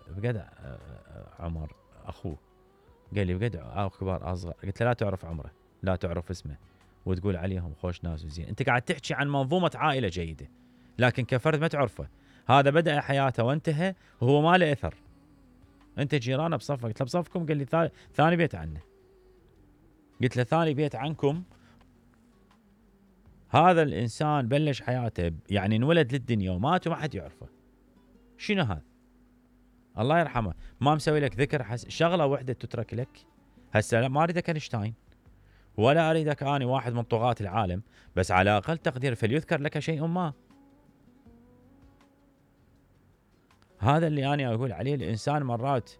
بقد عمر اخوه قال لي بقد كبار اصغر، قلت له لا تعرف عمره لا تعرف اسمه وتقول عليهم خوش ناس وزين، انت قاعد تحكي عن منظومه عائله جيده لكن كفرد ما تعرفه. هذا بدأ حياته وانتهى وهو ما له اثر. انت جيرانه بصفك، قلت له بصفكم؟ قال لي ثاني بيت عنه. قلت له ثاني بيت عنكم. هذا الانسان بلش حياته يعني انولد للدنيا ومات وما حد يعرفه. شنو هذا؟ الله يرحمه ما مسوي لك ذكر شغله واحده تترك لك. هسه ما اريدك اينشتاين ولا اريدك اني واحد من طغاة العالم، بس على اقل تقدير فليذكر لك شيء ما. هذا اللي انا اقول عليه. الانسان مرات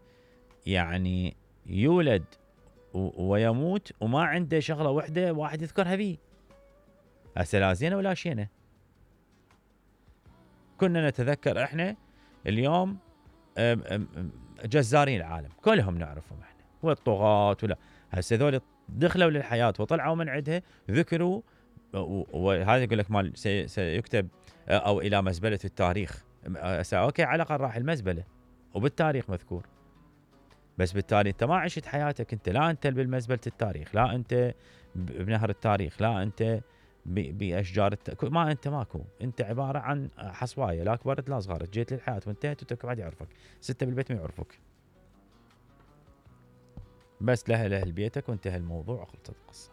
يعني يولد ويموت وما عنده شغله واحده واحد يذكرها بيه. هسه لا زينه ولا شينه. كنا نتذكر احنا اليوم جزارين العالم كلهم نعرفهم احنا والطغاة ولا. هسه ذول دخلوا للحياه وطلعوا من عندها ذكروا، وهذا يقول لك مال سيكتب او الى مزبله التاريخ. اوكي على الاقل راح المزبله وبالتاريخ مذكور، بس بالتالي انت ما عشت حياتك. انت لا انت بالمزبله التاريخ، لا انت بنهر التاريخ، لا انت باشجار ما انت ماكو. انت عباره عن حصوايه لا كبرت لا صغرت، جيت للحياه وانتهت وترك واحد يعرفك، سته بالبيت ما يعرفوك، بس لاهل بيتك وانتهى الموضوع وخلصت القصه.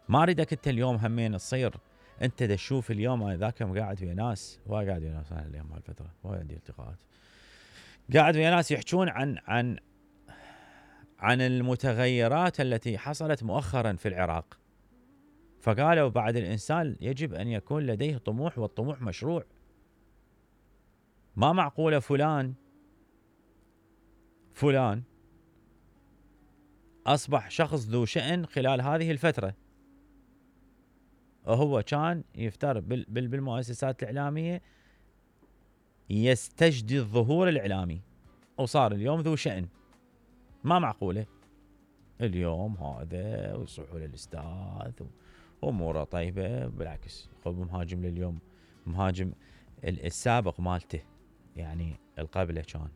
ما اريدك انت اليوم همين تصير انت تشوف اليوم. ذاك يوم قاعد ويا ناس، قاعد ويا ناس انا اليوم هالفتره عندي التقاءات، قاعد ويا ناس يحجون عن المتغيرات التي حصلت مؤخرا في العراق. فقالوا بعد الإنسان يجب أن يكون لديه طموح، والطموح مشروع. ما معقولة فلان أصبح شخص ذو شأن خلال هذه الفترة، وهو كان يفتر بالمؤسسات الإعلامية يستجدي الظهور الإعلامي، وصار اليوم ذو شأن. ما معقولة اليوم هذا ويصيحوا للأستاذ وأموره طيبة. بالعكس خذ مهاجم لليوم، مهاجم السابق مالته يعني القبله كان.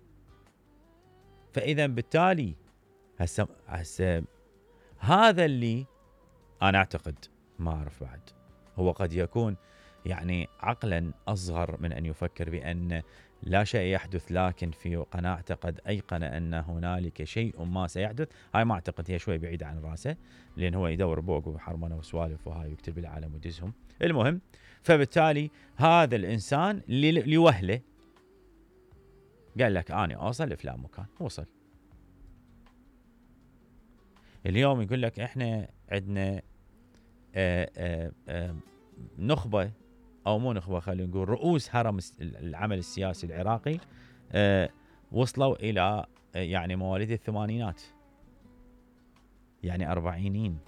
فإذا بالتالي هسه هذا اللي أنا أعتقد، ما أعرف بعد، هو قد يكون يعني عقلا أصغر من أن يفكر بأن لا شيء يحدث، لكن في قناعته قد أيقن أن هنالك شيء ما سيحدث. هاي ما أعتقد، هي شوي بعيدة عن راسه، لأن هو يدور بوق وحرمنة وسوالف وهاي ويكتب العالم ويدزهم. المهم، فبالتالي هذا الإنسان لوهله قال لك أنا أوصل لفلان مكان، وصل. اليوم يقول لك إحنا عندنا نخبة أو مو نخبة، خلينا نقول رؤوس هرم العمل السياسي العراقي وصلوا إلى يعني مواليد الثمانينات، يعني أربعينين،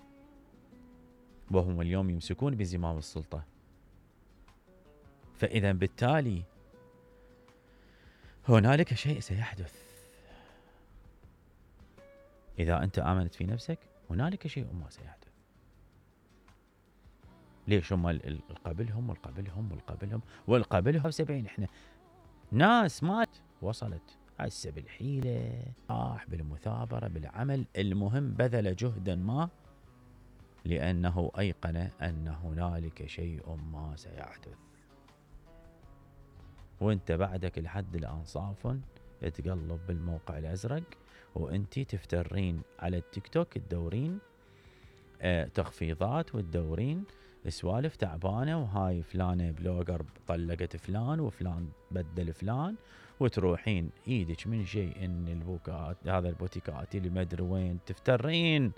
وهم اليوم يمسكون بزمام السلطة. فإذا بالتالي هنالك شيء سيحدث. إذا أنت آمنت في نفسك هنالك شيء ما سيحدث. ليش هم القبلهم والقبلهم 70؟ احنا ناس مات وصلت هسه بالحيلة، بالمثابرة، بالعمل، المهم بذل جهدا ما لأنه أيقن أن هنالك شيء ما سيحدث. وانت بعدك لحد الآن صاف تقلب بالموقع الأزرق، وانتي تفترين على التيك توك تدورين تخفيضات وتدورين سوالف تعبانة، وهاي فلانة بلوجر طلقت فلان وفلان بدل فلان، وتروحين ايدك من شيء ان البوكات هذا البوتيكات اللي ما ادري وين، تفترين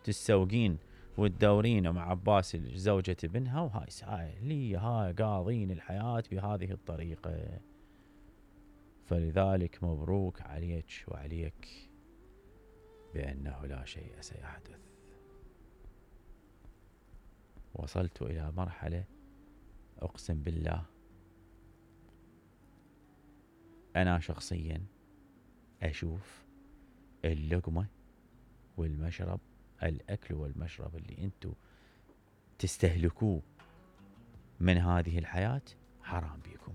تسوقين وتدورين مع عباس زوجة ابنها، وهاي لي هاي قاضين الحياة بهذه الطريقة. فلذلك مبروك عليك وعليك بأنه لا شيء سيحدث. وصلت إلى مرحلة أقسم بالله أنا شخصيا أشوف اللقمة والمشرب، الأكل والمشرب اللي أنتوا تستهلكوه من هذه الحياة حرام بيكم.